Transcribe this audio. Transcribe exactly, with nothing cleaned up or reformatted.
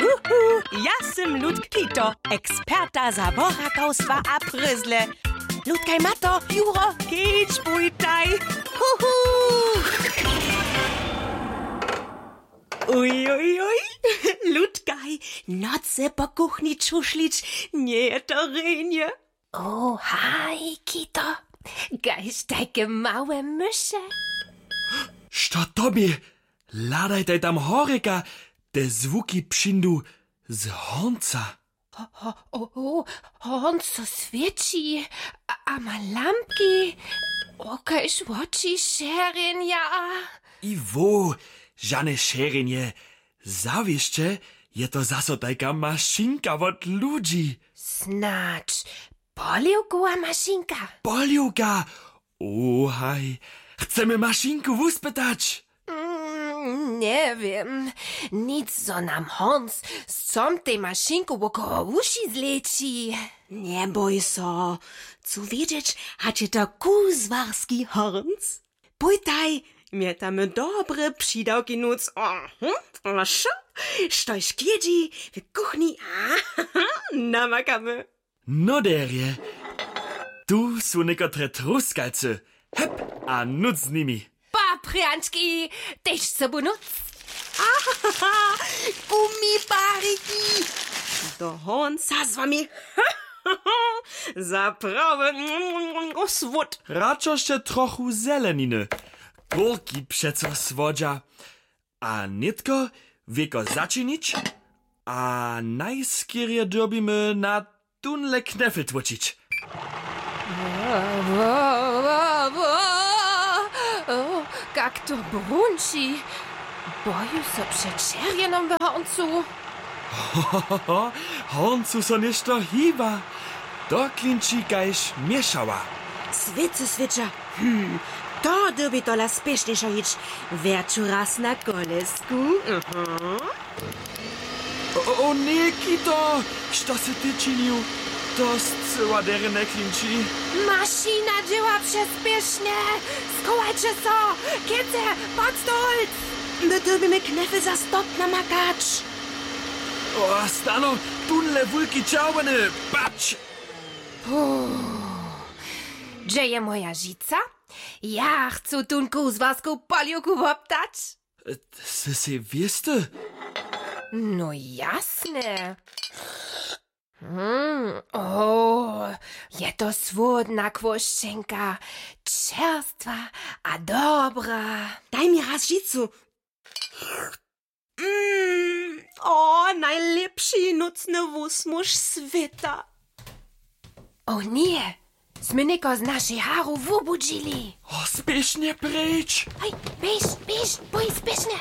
Uhu, ja sym Ludk Kito, eksperta za borakawstwa a pryzle. Ludkaj ma to, Juro, kedź, bójtaj. Uhu. Uj, uj, uj. Ludkaj, nocy po kuchni čušlić, njeje to rjenje. O, haj, Kito, kaž tajke małe myše. Što tobě? Hladajtaj tam horjeka, te zwuki přińdu z hornca. O, o, o, hornc so swěći a, a ma lampki, o, kaž woči šerjenja. I wo, žane šerjenje. Zawěsće je to zaso tajka mašinka wot ludźi. Snadź poliwkowa mašinka? Poliwka? O, haj, chcemy mašinku wuspytać. Mm, njewěm, nic, zo nam hornc z tom tej mašinku wokoło wuši zleći. Njebój so, chcu wědźeć, hač je to kuzłarski hornc? Pójtaj, mjetamy dobre přidawki nóc. Aha, a šo? Štož klědźi w kuchni? Aha, namakamy. No derje, tu su někotre truskalcy. Hep a nóc z nimi. Paprjančki, tež sobu nóc. Aha, gumibariki. Do hornca z wami. Za prawy słód. Radšo sće trochu zeleniny. Górki přeco słodźa. A nětko wěko začinić a najskerje dyrbimy na tónle knefel tłóčić. Wo, wo, wo, wo. O, kak to brunči. Boju so před šerjenom w horncu. Horncu so něšto hiba. To klinči kaž měšała. Swěcy swěća. Hm, to dyrbi tola spěšnjejšo hić. Wjerću raz na kolesku. Aha. O, o, o, ně, Kito! Što sy ty činił? To scyła derje njeklinči. Mašina dźěła přespěšnje! Schowajće so! Kěce, pod stolc! My dyrbimy knefel za stop namakać. O, stano, tónle wulki čerwjeny, patrć! Puh. Hdźe je moja žica? Ja chcu tón kuzłarsku poliwku woptać. Sy sej wěsty? No jasne. Mm, o, je to słodna kłóšćenka, čerstwa a dobra. Daj mi raz žicu. Mm, o, najlěpši nócny wusmuž swěta. O ně, smy někoho z našej haru wubudźili. O, spěšnje preč. Hej, běž, běž, bój, spěšnje.